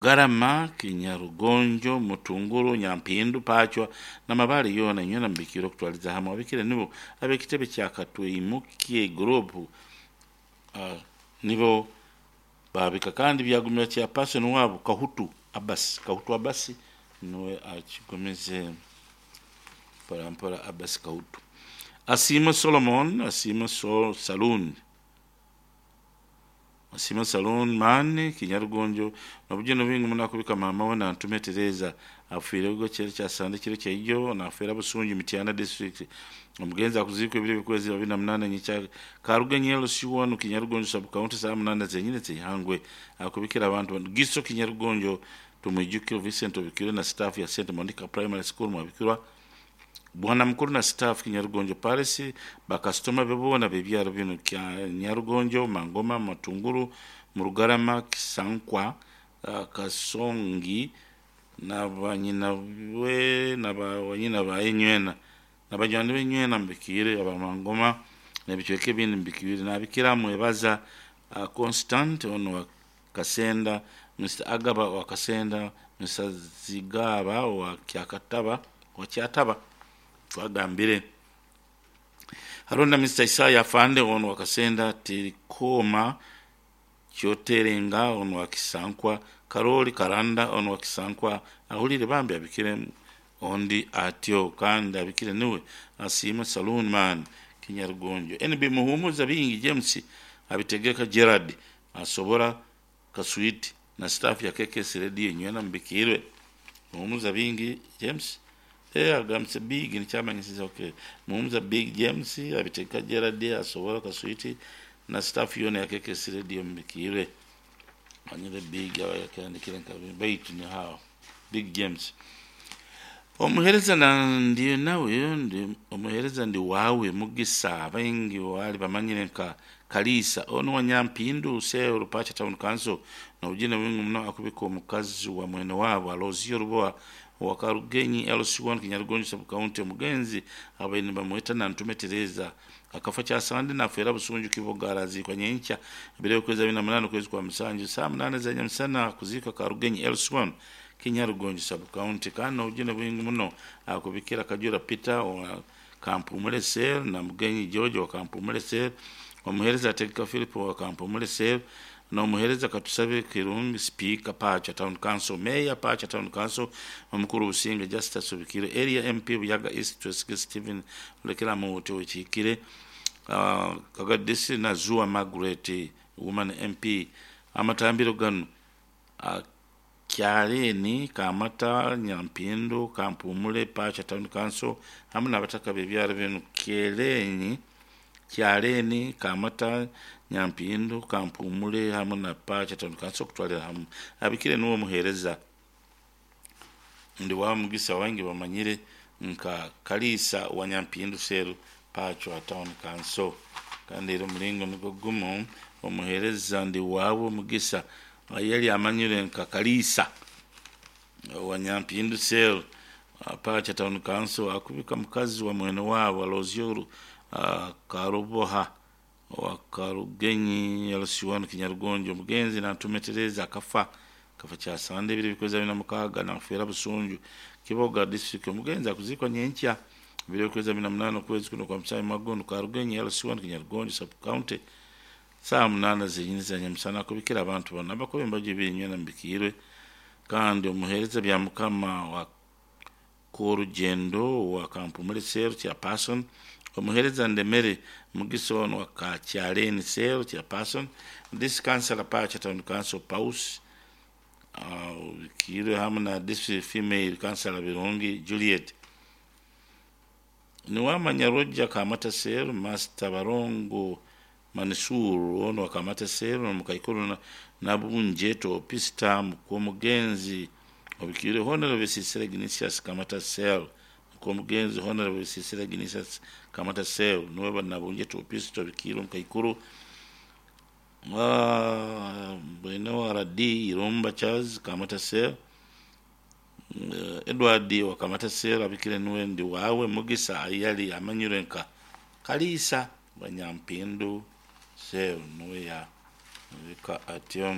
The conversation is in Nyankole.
Garama, Kinyarugonjo, Mutunguru, Nyampindu, Pachwa na Mabale yoona inywena mubikiire okutwaliza hamwe. Ababikire nibo ab'ekitebe kya Katweimukye Group nibo baabika kandi byagumira chairperson waabo Kahutu Abasi. Kahutu Abasi niwe akigumize mpora mpora Abasi Kahutu. Asiimwe Solomon, Asiimwe Saloon. Asiimwe Saloon Man, Kinyarugonjo, Nobugye obwingi muno akubika maama we Nantume Tereza afiire ogwo ekiro kya Sande ekiro kyaijo nafeera Busunju Mityana district. Omugenzi akuziikwa ebiro by'okwezi 28 Nyikya Karugenyi LC1 Kinyarugonjo sub county saaha 8 zenyine zeihangwe akubikira abantu banu Giso Kinyarugonjo Tumwijukire Vincent Obikirwe na staff ya St Monica Primary School mwabikirwa Bwana mukuru na staff Kinyarugonjo Palace bakasitoma be boona b'ebyaro binu Nyarugonjo, Mangoma, Matunguru, Murugarama, Kisankwa, Kasongi na banyina we na banyina ba inywena na banywani b'enywena mubikiire aba Mangoma n'ebicweka ebindi mubikiire nabikira mwebaza Constant ono wa Kasenda, Mr Agaba wa Kasenda, Mr Zigaba wa Kyakataba wa Kyataba twagambire hariho na Mr Isaya Afande ono wa Kasenda, Tirikoma Kyoterenga ono wa Kisankwa, Karoli Karanda ono wa Kisankwa ahulire bambi abikire ondi atyo kandi abikire niwe Asiimwe Saloon Man Kinyarugonjo. NB Muhumuza Bingi James abitegeka Gerard asobora Kaswiti na staff ya KKS Radio nywena mubikirwe. Muhumuza Bingi James agambise Big nikyamanyisiza okay. Muhumuza Big James abitegeka Gerard asobora Kaswiti na staff yoona ya KKS Radio mubikirwe. Manyire Big yakandikire nka baitu ni hao Big James. Omuhereza ndi nawe ndi omuhereza ndi wawe Mugisa abaingi wali bamanyire nka Kalisa ono wa Nyampindu Seo Rupacha Town Council nobugine bwingi muno akubika omukazi wa mwene waabo Alozio Ruboa wa Karugenyi LC1 Kinyarugonjo sub county omugenzi abaine nibamweta Nantume Tereza akafa kyasande nafeera Busunju Kiboga araziikwa nyenkya ebiro by'okwezi 28 okwezi kwa musanju saa 8 za nyamusana kuziika Karugenyi LC1 Kinyarugonjo sub county kandi nobugine bwingi muno akubikira Kajura Peter wa Kampumule Cell na Mugenyi George wa Kampumule Cell omuhereza Ategeka Philip wa Kampumule Cell n'omuhereza Katusabe Kirungi Speaker Pacha Town Council Mayor Pacha Town Council omukuru Businge Justus Obikire area MP Buyaga East Twesige Stephen Lekera Muwote wekikire Kagadisi na Zua Margaret Woman MP amatambiro gano Kyaleni Kamata Nyampindu Kampumule Pacha Town Council hamwe n'abataka b'ebyaro binu Kyeleni Kyaleni Kamata Nyampindu Kampumule hamwe na Pacha Town Council okutwalira hamwe abikire niwe omuhereza ndi wa Mugisa wangi bamanyire nka Kalisa wa Nyampindu Seru Pacha Town Council kandi era omuringo nigwo gumu omuhereza ndi wawe Mugisa yali amanyire nka Kalisa wa Nyampindu Seru Pacha Town Council akubika mukazi wa mwene waabo Alozio Karuboha wa Karugenyi LC1 Kinyarugonjo omugenzi Nantume Tereza akafa kafa kyasande ebiro by'okwezi 26 nafeera Busunju Kiboga district omugenzi akuziikwa nyenkya ebiro by'okwezi 28 okwezi kuno kwa musanju Magondo Karugenyi LC1 Kinyarugonjo sub county saa 8 zenyini za nyamusana akubikira abantu bano abakuba embaju ibiri nywena mubikiirwe kandi omuhereza bya mukama wa Korugyendo wa Kampumule Cell chairperson omuhereza Ndemere Mugisa ono wa Kakyaleni Cell chairperson this councillor Pacha Town Council Paus obikiirwe hamwe na district female councillor Birungi Juliet niwamanya Roger Kamata Cell Master Barongo Manisuru ono wa Kamata Cell omukaikuru Nabunjeto Pista mukomugenzi obikiire Honorable Sisira Ignatius Kamata Cell mukomugenzi Honorable Sisira Ignatius Kamata Cell niwe Nabunjeto Pista obikiire omukaikuru bwene wa RD Irumba Charles Kamata Cell Edward wa Kamata Cell abikire niwe ndi wawe Mugisa yali amanyire nka Kalisa wa Nyampindu Cell niwe ya bika atyo.